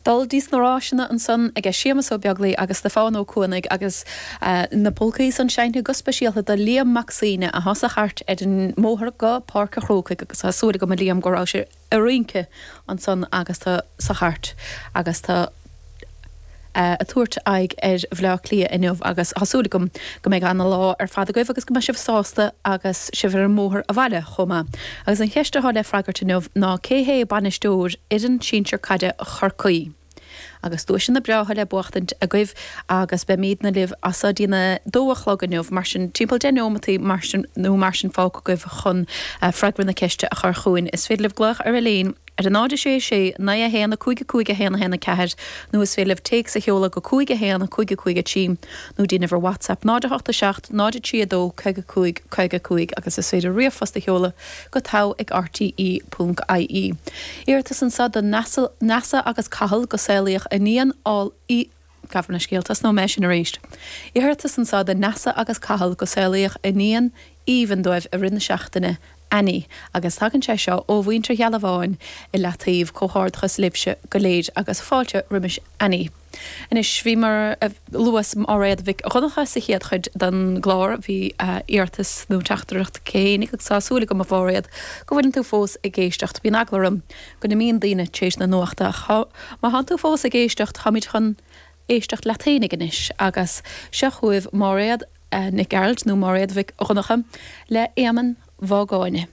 Dul dtí sna ráiseanna ansan aige Séamus Ó Beaglaoi agus Stiofán Ó Cuanaigh agus na polcaí san seinnte go speisialta do Liam Mac Suibhne athá sa chairt ar an mbóthar go Páirc a' Chrócaigh agus tá súil agam a Liam go raibh sibh a' rince ansan agus tú sa chairt agus tú a' tabhairt aghaidh ar Bhleá Cliath inniu agus tá súil agam go mbeidh ana lá ar fad agaibh agus go mbeidh sibh sásta agus sibh ar an mbóthar abhaile chomh maith. Agus an cheist atá le freagairt inniu ná cé hé bainisteoir fhoireann sinsir caide Chorcaí? Agus duaiseanna breátha le buachtaint agaibh agus beimídne libh as so dtí'n 2 a chlog inniu mar sin timpeall 10 neomataí mar sin nó mar sin fágtha agaibh chun freagra na ceiste a chur chugainn. Is féidir libh glaoch ar an líne ar 0 6 6 9 1 5 5 1 1 4 nó is féidir libh téacs a sheoladh go 5 1 5 5 3 nó déanamh ar WhatsApp 0 8 7 0 3 2 55 55 agus is féidir ríomhphost a sheoladh go togha ag rte ponc ie. Iarratas anso do Neasa agus Cathal go saolaíodh iníon ál í Gabh mo leithscéal, tosnóidh mé sin arís. Iarratas anso do Neasa agus Cathal go saolaíodh iníon aoibhinn dóibh i rith na seachtaine, Annie, agus tagann sé seo ó mhuintir Ghealbháin i Leataobh, Comhghairdeachas libhse go léir agus fáilte roimis Annie. Anois, bhí mar a luas Máiréad Mhic Dhonncha sa chéad chuid den gclár, bhí iarratas nó teachtaireacht aici fhéinig agus tá súil agam a Mháiréad go bhfuileann tú fós ag éisteacht. Bíonn eagla orm go n-imíonn daoine tar éis na nuachta ach má thánn tú fós ag éisteacht táimid chun éisteacht leat fhéinig anois agus seo chugaibh Máiréad Nic Gearailt nó Máiréad Mhic Dhonncha le Éamonn Mhágáine.